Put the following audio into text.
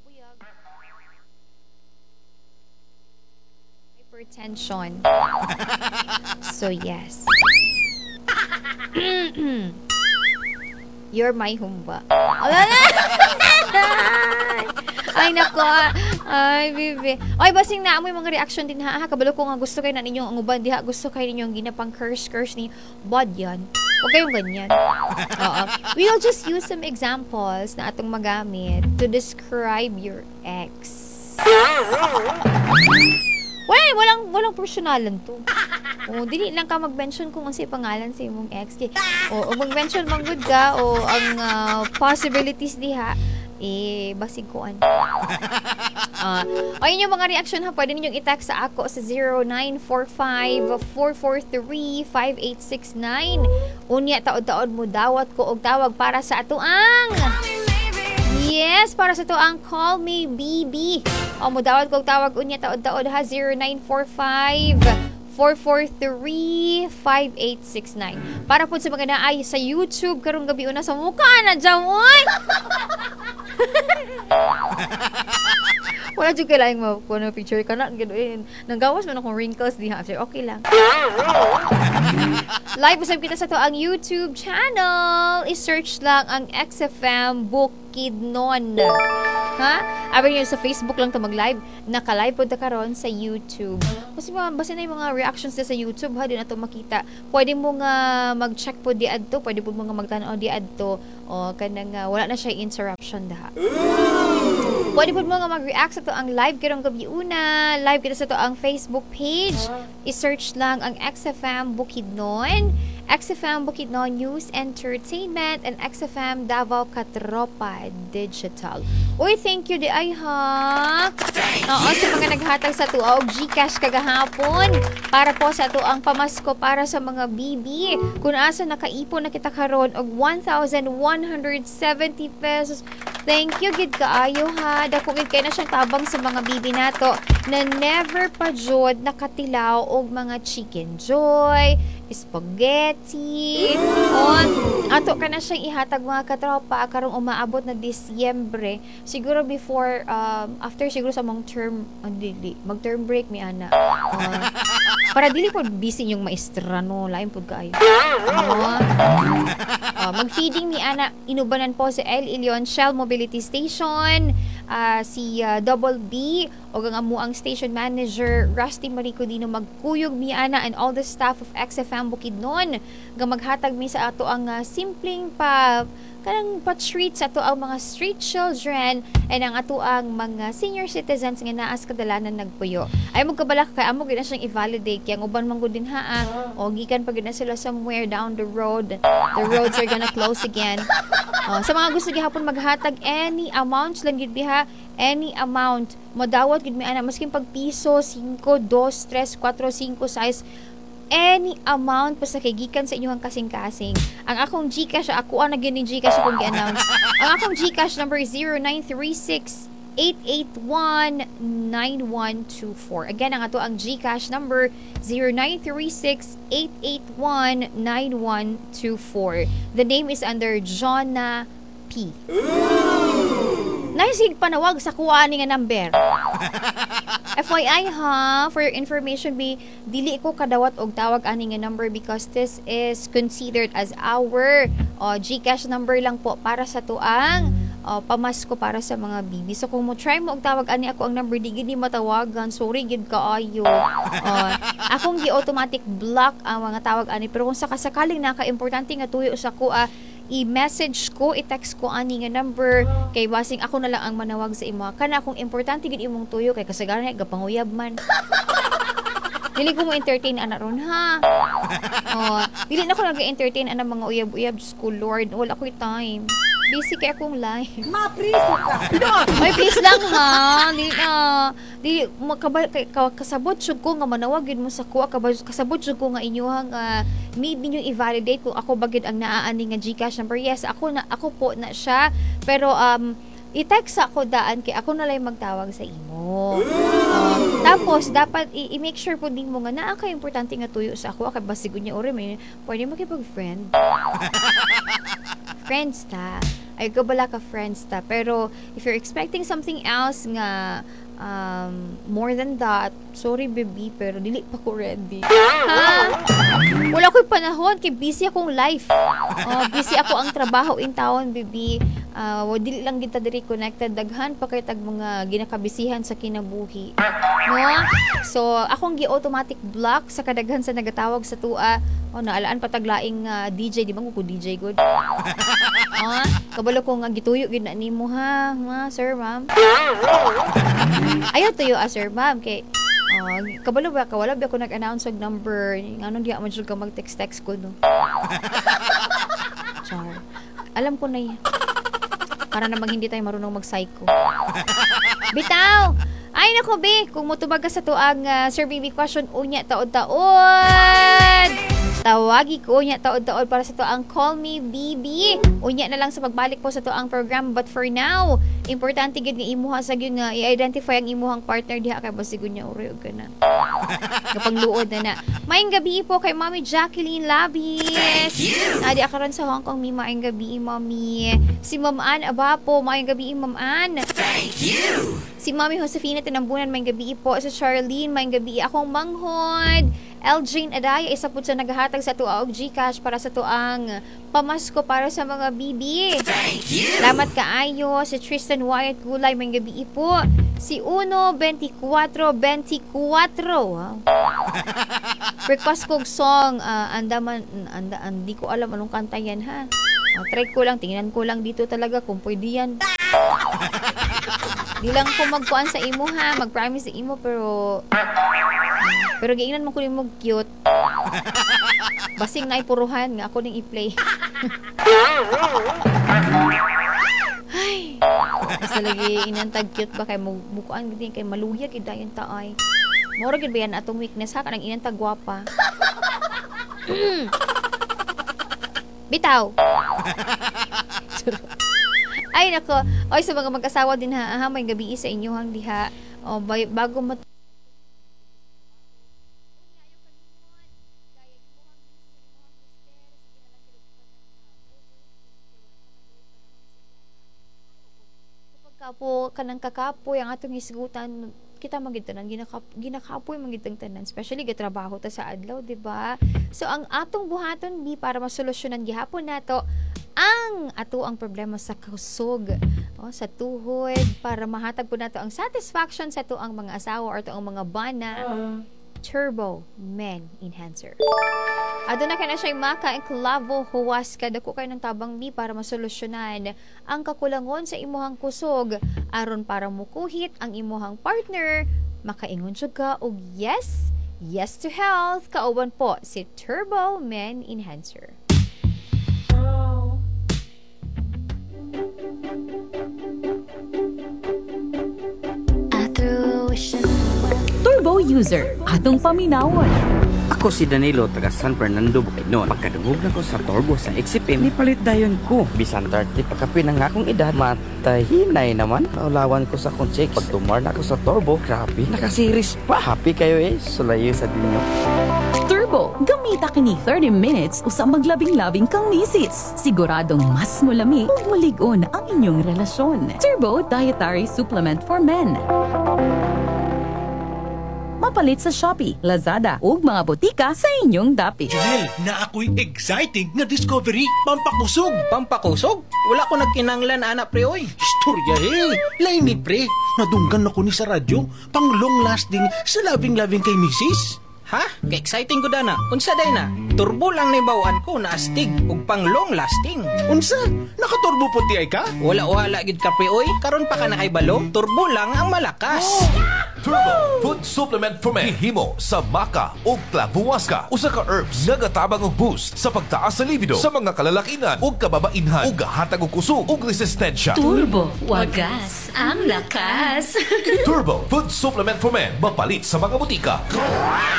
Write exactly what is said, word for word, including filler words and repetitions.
Puyag. Hypertension. So yes. You're my humba. Ay, nako. Ay, bibi. Ay, basing na amoy mga reaction din ha. Kabalo ko nga gusto kayo na ninyong ang uban diha. Gusto kayo ninyong ginapang curse curse ni bad yan. Huwag kayong ganyan. Oo. We'll just use some examples na atong magamit to describe your ex. Wala, walang, walang personalan to. O, dili lang ka mag-mention kung unsay pangalan sa imong ex. Kay, o, o mag-mention man gud ka o ang uh, possibilities diha eh basig kuan. Uh, o yun yung mga reaction ha, pwede ninyong i-text sa ako sa zero nine four five, four four three, five eight six nine. Unya taod-taod mo dawat ko og tawag para sa ato ang Yes, para sa to ang Call Me B B. O mo dawat ko og tawag unya taod-taod ha, zero nine four five, four four three, five eight six nine. Para po sa mga naay sa YouTube karong gabi una sa mukha na dyan, oy! Wala jud kailangan makuha na picture ka na, gano'n. Nanggawas man akong wrinkles diha. Okay lang. Live usab kita sa to ang YouTube channel. I-search lang ang X F M Bukidnon. Ha? Abi niyo sa Facebook lang to mag-live. Naka-live po ta karon sa YouTube. Kasi mga, basta na yung mga reactions na sa YouTube ha, di na to makita. Pwede mo nga mag-check po di adto, pwede po mo nga magtan-aw di adto. O kanang uh, wala na siya interruption daha. Pwede po mo nga mag-react sa to ang live karong gabi una. Live kita sa to ang Facebook page. I-search lang ang X F M Bukidnon, X F M Bukidnon News Entertainment, and X F M Davao Katropa Digital. Uy, thank you di ay ha. Oo, sa mga naghatag sa tuwa og GCash kagahapon para po sa ato ang pamasko para sa mga B B. Kung asa nakaipon na kita karon og one thousand one hundred seventy pesos. Thank you gid kaayo ha. Dako gid kay na siyang tabang sa mga B B nato na never pa jud nakatilaw og mga chicken joy, spaghetti. On ato ka na siyang ihatag mga katropa karong umaabot na Disyembre. Siguro before, um, after siguro sa mong term, oh, dili, mag term break mi ana. Uh, para dili po busy yung maestra no, lain pud kaayo. Uh, uh, mag-feeding mi ana, inubanan po si El Ilion Shell Mobility Station, uh, si uh, Double B o ang amuang station manager Rusty Marico Dino magkuyog mi ana and all the staff of X F M Bukidnon nga maghatag mi sa ato ang uh, simpleng pa kanang pa-treat sa ato ang mga street children and ang ato ang mga senior citizens nga naa sa kadalanan nagpuyo. Ay mo kabalak kay amo gid na siyang i-validate kay ang uban man gud din ha, ah. O gikan pa gid na sila somewhere down the road. The roads are gonna close again. O, sa mga gusto gihapon maghatag any amount lang gid biha, any amount modawat gid mi ana maskin pag piso, singko, dos, tres, kwatro, singko, sais, any amount basta kay gikan sa inyong kasing-kasing. Ang akong GCash, ako ang naging ni GCash akong gi-announce. Ang akong GCash number is zero nine three six, eight eight one, nine one two four. Again, ang ato ang GCash number zero nine three six, eight eight one, nine one two four. The name is under Jonah P. Nice panawag sa kuha ni nga number. F Y I ha, for your information be, dili ko kadawat og tawag ani nga number because this is considered as our, uh, GCash number lang po para sa tuang, uh, pamasko para sa mga B B. So kung mo try mo og tawag ani ako ang number, di gid ni matawagan. Sorry gid kaayo. Uh, akong gi-automatic block ang mga tawag ani, pero kung sakasakaling naka-importante nga tuyo sa kuha, i-message ko, i-text ko ani nga number kay basing ako na lang ang manawag sa imo. Kana akong importante gid imong tuyo kay kasagaran gapanguyab man. Dili ko mo entertain ana ron ha. Oh, dili na ko nag-entertain ana mga uyab-uyab, Diyos ko Lord, wala ko'y time. Busy kay akong life. Mapriso ka. Ay, please lang ha. Dili na. Dili makabal kay ka, kasabot jud ko nga manawag gid mo sa kuha, kabal, kasabot jud ko nga inyuhang, uh, need ninyo i-validate kung ako ba gid ang naaani nga GCash number. Yes, ako na, ako po na siya. Pero um i-text ako daan kay ako na lang magtawag sa imo. Uh, tapos dapat i-, i-make sure po din mo nga naa kay importante nga tuyo sa ako kay basig niya ore may pwede makipag-friend. Friends ta. Ay ko bala ka, friends ta. Pero if you're expecting something else nga um, more than that, sorry, baby, pero dili pa ko ready. Ha? Wala ko'y panahon kay busy akong life. Oh, busy ako ang trabaho in town, baby. Uh, dili lang kita diri connected, daghan pa kay tag mga ginakabisihan sa kinabuhi. No? So, akong gi-automatic block sa kadaghan sa nagatawag sa tua. Oh, naalaan pa taglaing uh, D J, di ba ko D J good? Ah, kabalo ko nga gituyo gid na nimo ha, ha, sir, ma'am. Ayaw tuyo ah, sir, ma'am, kay uh, kabalo ba ka wala ba ako nag-announce og number, ngano diha man jud ka mag-text-text ko, no? Char. Alam ko na yan. Para namang hindi tayo marunong mag-psycho. Bitaw! Ay nako, be, kung motubag ka sa tuang uh, Sir Baby question unya taod-taod. Tawagi ko unya taod-taod para sa tuang Call Me B B. Unya na lang sa pagbalik po sa tuang program, but for now, importante gid nga imuha sa gyud nga i-identify ang imuhang partner diha kay basig unya uri og kana. Kapangluod na na. Maayong gabi po kay Mami Jacqueline Labis. Adi karon sa Hong Kong, mi, maayong gabi, Mami. Si Ma'am Ann Abapo, maayong gabi, Ma'am Ann. Thank you. Si Mami Josefina Tinambunan, maayong gabi po. Si Charlene, maayong gabi. Akong manghod. Eljane Adaya, isa po sa naghahatag sa tuwa og GCash para sa tuang pamasko para sa mga bibi. Thank you. Salamat kaayo. Si Tristan Wyatt Gulay, maayong gabi po. Si Uno twenty-four twenty-four. Wow. Request kog song, uh, andaman, anda, andi ko alam anong kanta yan ha. Uh, try ko lang, tingnan ko lang dito talaga kung pwede yan. Di lang ko magkuan sa imo ha, mag-promise sa imo, pero pero giingnan mo ko nimo cute. Basing na ipuruhan nga ako ning i-play. Ay. Basta lagi inantag cute ba kay mukuan gid kay maluya gid dayon ta ay. Moro gid ba yan atong weakness ha, kanang inantag gwapa. Bitaw. Ay nako, oy, sa mga mag-asawa din ha, aha, may gabi sa inyo hang diha. O bay, bago mat kapo kanang kakapoy ang atong hisgutan, kita magid tanan ginakap, ginakapoy magid tang tanan, especially gatrabaho ta sa adlaw, di ba? So ang atong buhaton bi para masolusyonan gihapon nato ang ato ang problema sa kusog, oh, sa tuhod, para mahatag po nato ang satisfaction sa ato ang mga asawa or ato ang mga bana, Turbo Men Enhancer. Aduna kay na siya maka ang klavo huwas kada ko kay ng tabang bi para masolusyonan ang kakulangon sa imuhang kusog aron para mukuhit ang imuhang partner, makaingon jud ka og yes, yes to health, kauban po si Turbo Men Enhancer. Turbo user, atong paminawon. Ako si Danilo, taga San Fernando, Bukidnon. Pagkadungog na ko sa Turbo sa X F M, nipalit dayon ko. Bisan thirty pa kapin ang akong edad, matahinay naman. Naulawan ko sa akong chicks. Pag tumar na ako sa Turbo, grabe, nakasiris pa. Happy kayo eh, sulayo sa dinyo. Turbo, gamita kini thirty minutes usa maglabing-labing kang misis. Siguradong mas mulami ug mulig-on ang inyong relasyon. Turbo Dietary Supplement for Men. Mapalit sa Shopee, Lazada ug mga botika sa inyong dapit. Junel, na ako'y exciting nga discovery, pampakusog. Pampakusog? Wala ko nagkinanglan ana, pre, oy. Istorya eh, lain ni pre, nadunggan ako ni sa radyo, pang long lasting sa loving-loving kay misis. Ha? Ka-exciting ko dana. Unsa day na? Turbo lang ni bawaan ko na astig ug pang long lasting. Unsa? Nakaturbo po ti ay ka? Wala wala gid ka, pre, oy. Karon pa ka nakahibalo? Turbo lang ang malakas. Turbo Food Supplement for Men. Gihimo sa maca ug clavuasca. Usa ka herbs nga gatabang og boost sa pagtaas sa libido sa mga kalalakinan ug kababainhan ug gahatag og kusog ug resistensya. Turbo, wagas ang lakas. Turbo Food Supplement for Men. Mapalit sa mga butika.